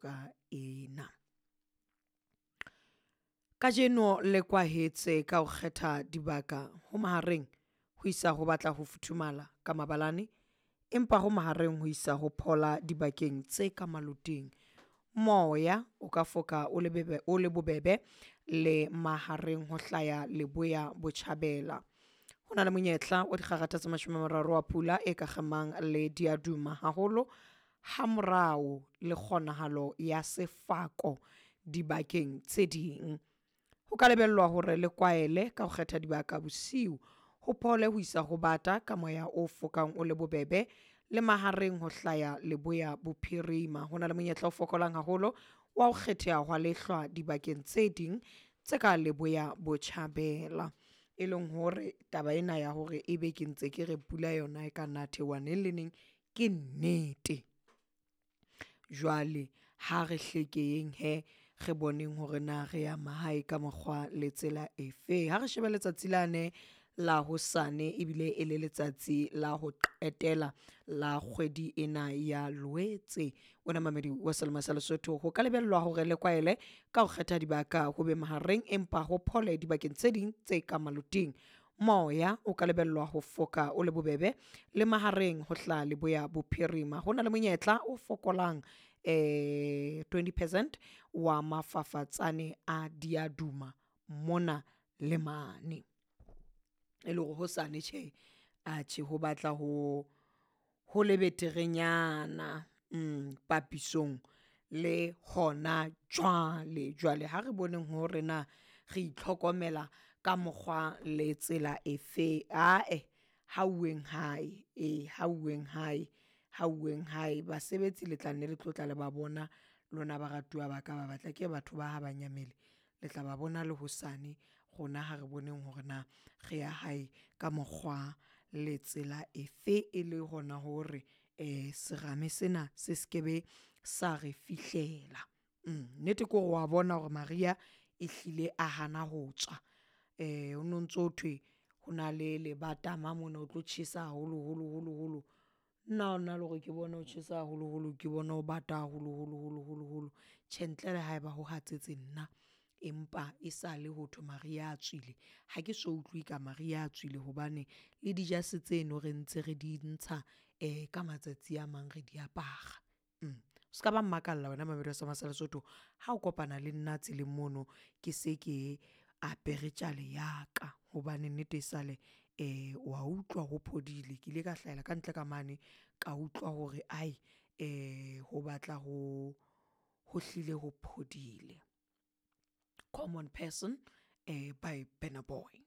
Ka ena. Kajeno le kwahetse ka ho kgetha dibaka ho mahareng ho isa ho batla ho futhumala ka mabalane, empa ho mahareng ho isa ho phola dibakeng tse ka maloting. Moya o ka foka o le bebe o le bobebe le mahareng ho hlaya leboya botjhabela. Ho na le monyetla wa dikgakgatha tse 30 wa pula e ka kgemang le diaduma haholo hamorao le kgonahalo ya sefako dibakeng tse ding. Ho ka lebellwa hore le kwaele ka ho kgetha dibaka bosiu ho phole ho isa ho bata ka moya o fokang o le bobebe le mahareng ho hlaya leboya bophirima. Ho na le monyetla o fokolang haholo wa ho kgetheha hwa lehlwa dibakeng tse ding tse ka leboya botjhabela. E leng hore taba ena ya hore ebe ke ntse ke re pula yona e ka nna theoha neng le neng ke nnete. Jwale ha re hlekeheng hee re boneng hore na re ya mahae ka mokgwa le tsela efe. Ha re shebe letsatsi lane la hosane ebile e le letsatsi la ho qetela la kgwedi ena ya Loetse. Wena mamedi wa Selemo sa Lesotho ho ka lebellwa hore le kwaele ka ho kgetha dibaka ho be mahareng empa ho phole dibakeng tse ding tse ka maloting. Moya o ka lebellwa ho foka o le bobebe le mahareng ho hlaha leboya bophirima. Ho na le monyetla o fokolang 20 percent wa mafafatsane a diaduma mona le mane. E le hore hosane tjhe, atjhe ho batla ho ho le beterenyana papisong le hona jwale. Jwale ha re boneng hore na re itlhokomela ka mokgwa le tsela efe. Ae ha uweng hae, ee ha uweng hae, ha uweng hae. Basebetsi le tla nne le tlo tla le ba bona lona baratuwa ba ka ba batle. Akere batho ba ha ba nyamele le tla ba bona le hosane. Rona ha re boneng hore na re ya hae ka mokgwa le tsela efe e le hona hore um serame sena se skebe sa re fihlela. Nnete ke hore wa bona hore mariha e hlile a hana ho tswa. Ho no ntso thwe ho na le lebatama mona ho tlo tjhesa haholoholo holo holo. Nna na le hore ke bone ho tjhesa haholoholo, ke bone ho bata haholoholo holo holo holo. Tjhe, ntle le haeba ho hatsetse nna, empa e sale ho thwe mariha a tswile. Ha ke so utlwe ka mariha a tswile hobane le dijase tseno re ntse re di ntsha ka matsatsi a mang re di apara. O ska ba mmakalla wena mamedi wa sa Lesotho ha o kopana le nna tseleng mono ke se ke apere tjale ya ka hobane nnete e sale wa utlwa ho phodile. Ke ile ka hlahela kantle ka mane ka utlwa hore ai ho batla ho ho hlile ho phodile. Common Person by Burna Boy.